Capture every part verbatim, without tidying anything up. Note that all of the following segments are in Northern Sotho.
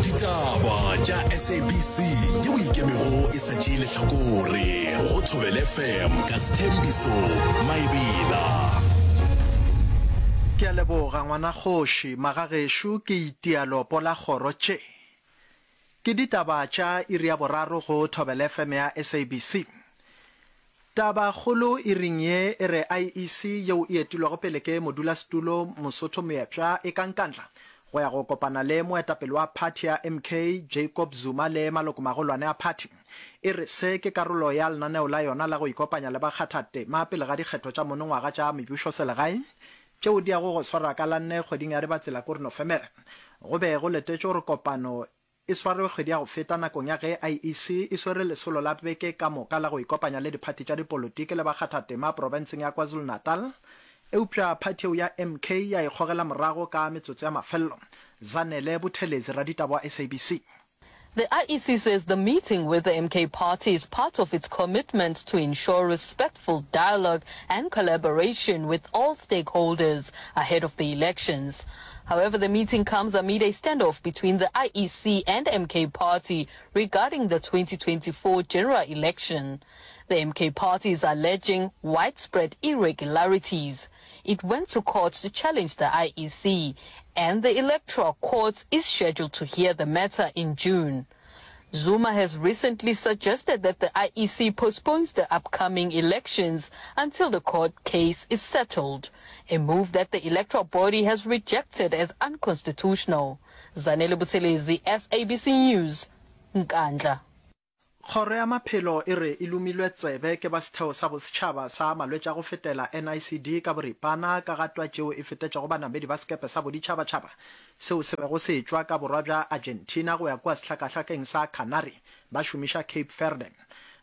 Ditaba tša S A B C yeo e ikemego e sa tšee lehlakore go Thobela F M ka Sethembiso Maebela. Ke a leboga ngwana kgoši, magagešo ke itia lopo la kgoro tše. Ke ditaba tša iri ya boraro go Thobela F M ya S A B C. Taba kgolo iring ye e re I E C yeo e etilwego pele ke modulasetulo Mosotho Moepša e ka Nkandla go ya go kopana le moetapele wa phathi ya M K Jacob Zuma le malokomagolwane a phathi. E re se ke karolo ya lenaneo la yona la go ikopanya le bakgathatema pele ga dikgetho tša monongwaga tša mebušoselegae tšeo di yago go swarwa ka la nne kgweding ya Dibatsela kore Nofemere. Go be go letetšwe gore kopano e swarwe kgwedi ya go feta nakong ya ge I E C e swere lesolo la beke ka moka la go ikopanya le diphathi tša dipolotiki le bakgathatema profenseng ya KwaZulu-Natal, eupša phathi yeo ya M K ya ikgogela morago ka metsotso ya mafelelo. Zanele Buthelezi, raditaba wa S A B C. The I E C says the meeting with the M K party is part of its commitment to ensure respectful dialogue and collaboration with all stakeholders ahead of the elections. However, the meeting comes amid a standoff between the I E C and M K party regarding the twenty twenty-four general election. The M K party is alleging widespread irregularities. It went to court to challenge the I E C, and the Electoral Court is scheduled to hear the matter in June. Zuma has recently suggested that the I E C postpones the upcoming elections until the court case is settled, a move that the electoral body has rejected as unconstitutional. Zanele Buthelezi, S A B C News, Nkandla. Kgoro ya Maphelo e re e lomilwe tsebe ke ba Setheo sa Bosetšhaba sa Malwetši a go Fetela, N I C D, ka boripana ka ga twatši yeo e fetetšego banamedi ba sekepe sa boditšhabatšhaba seo se bego se etšwa ka borwa bja Argentina go ya kua sehlakahlakeng sa Canary ba šomiša Cape Verde.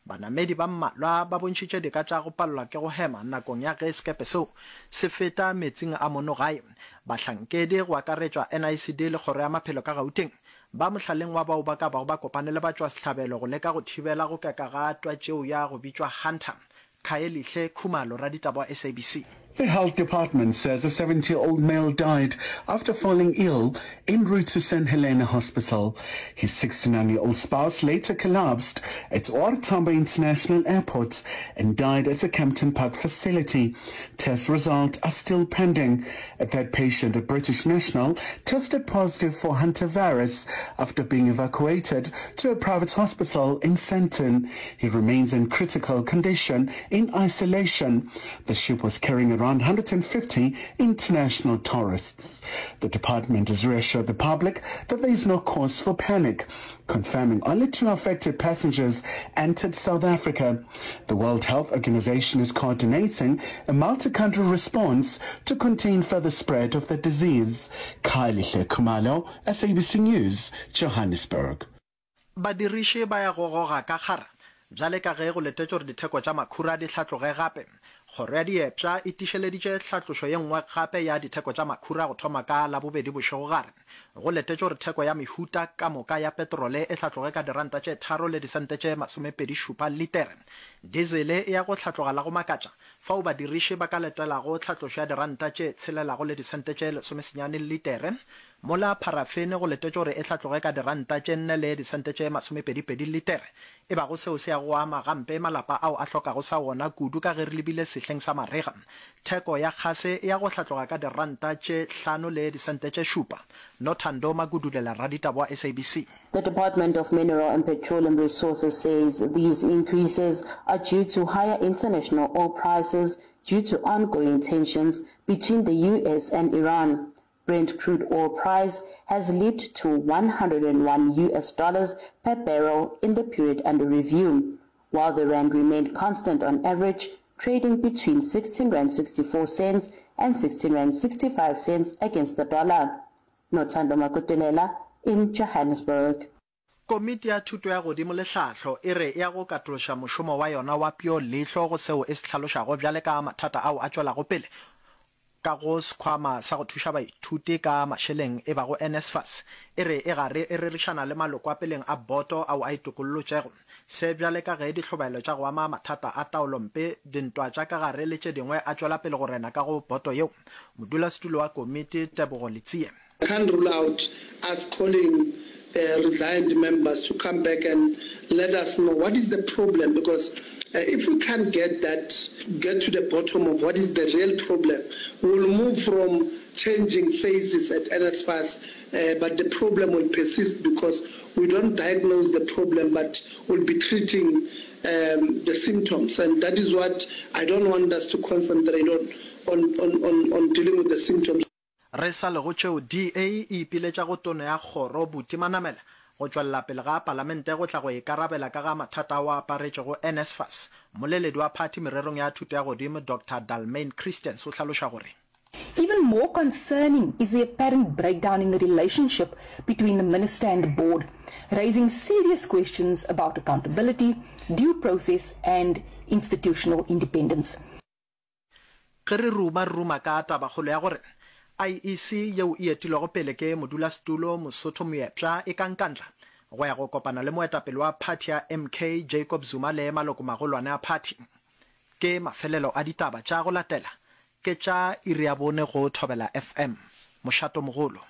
Banamedi ba mmalwa ba bontšhitše dika tša go palelwa ke go hema nakong ya ge sekepe seo se feta meetseng a mono gae. Bahlankedi, go akaretšwa N I C D le Kgoro ya Maphelo ka Gauteng, ba mohlaleng wa bao ba ka bago ba kopane le batšwasehlabelo go leka go thibela go keka ga twatši yeo ya go bitšwa Hanta. Khayelihle Khumalo, raditaba wa S A B C. The health department says a seventy-year-old male died after falling ill en route to Saint Helena Hospital. His sixty-nine-year-old spouse later collapsed at O R. Tambo International Airport and died at the Kempton Park facility. Test results are still pending. A third patient, a British national, tested positive for hantavirus after being evacuated to a private hospital in Sandton. He remains in critical condition in isolation. The ship was carrying around one hundred fifty international tourists. The department has reassured the public that there is no cause for panic, confirming only two affected passengers entered South Africa. The World Health Organization is coordinating a multi-country response to contain further spread of the disease. Khayelihle Khumalo, S A B C News, Johannesburg. Badiriši ba ya go goga ka kgara bjale ka ge go letetšwe gore ditheko tša makhura di hlatloge gape. Kgoro ya Diepša e tiišeleditše hlatlošo ye nngwe gape ya ditheko tša makhura go thoma ka Labobedi bošegogare. Go letetšwe gore theko ya mehuta ka moka ya petrole e hlatloge ka diranta tše tharo le disente tše masomepedi šupa litere. Dizele e ya go hlatloga la go makatša, fao badiriši ba ka letelago hlatlošo ya diranta tše tshelelago le disente tše lesomesenyane litere, mola pharafene go letetšwe gore e hlatloge ka diranta tše nne le disente tše masomepedipedi litere. E bago seo se yago go ama gampe malapa ao a hlokago sa wona kudu ka ge re lebile sehleng sa marega. Theko ya kgase e ya go hlatloga ka diranta tše hlano le disente tše šupa. Nothando Magudulela, raditaba wa S A B C. The Department of Mineral and Petroleum Resources says these increases are due to higher international oil prices due to ongoing tensions between the U S and Iran. Brent crude oil price has leaped to one hundred and one U S dollars per barrel in the period under review, while the rand remained constant on average, trading between sixteen rand sixty-four cents and sixteen rand sixty-five cents against the dollar. Nothando Magudulela in Johannesburg. Komiti ya Thuto ya Godimo le Tlhahlo e re e ya go katološa mošomo wa yona wa peo leihlo go seo e se hlalošago bjale ka mathata ao a tšwelago pele ka go sekhwama sa go thuša baithuti ka mašeleng e bago N S F A S. E re e gare e rerišana le maloko a peleng a boto ao a itokollotšego. Se bjale ka ge dihlobaelo tša go ama mathata a taolompe, dintwa tša ka gare le tše dingwe a tšwela pele go rena ka go boto yeo. Modulasetulo wa komiti, Tebogo Letsie. I can't rule out us calling uh, resigned members to come back and let us know what is the problem, because uh, if we can't get that, get to the bottom of what is the real problem, we'll move from changing faces at N S F A S, uh, but the problem will persist because we don't diagnose the problem, but we'll be treating um, the symptoms. And that is what I don't want us to concentrate on, on, on, on, on dealing with the symptoms. Re sa le go tšeo, D A e ipiletša go Tona ya Kgoro Buti Manamela go tšwelela pele ga Palamente go tla go ikarabela ka ga mathata ao a aparetšego N S F A S. Mmoleledi wa phathi mererong ya thuto ya godimo Doctor Dalmain Christians o hlaloša gore. Even more concerning is the apparent breakdown in the relationship between the minister and the board, raising serious questions about accountability, due process and institutional independence. Ge re ruma, re ruma ka tabakgolo ya gore I E C yeo e etilwego pele ke modulasetulo Mosotho Moepša e ka Nkandla go ya go kopana le moetapele wa phathi ya M K Jacob Zuma le malokomagolwane a phathi. Ke mafelelo a ditaba tša go latela ke tša iri ya bone go Thobela F M. Mošatomogolo.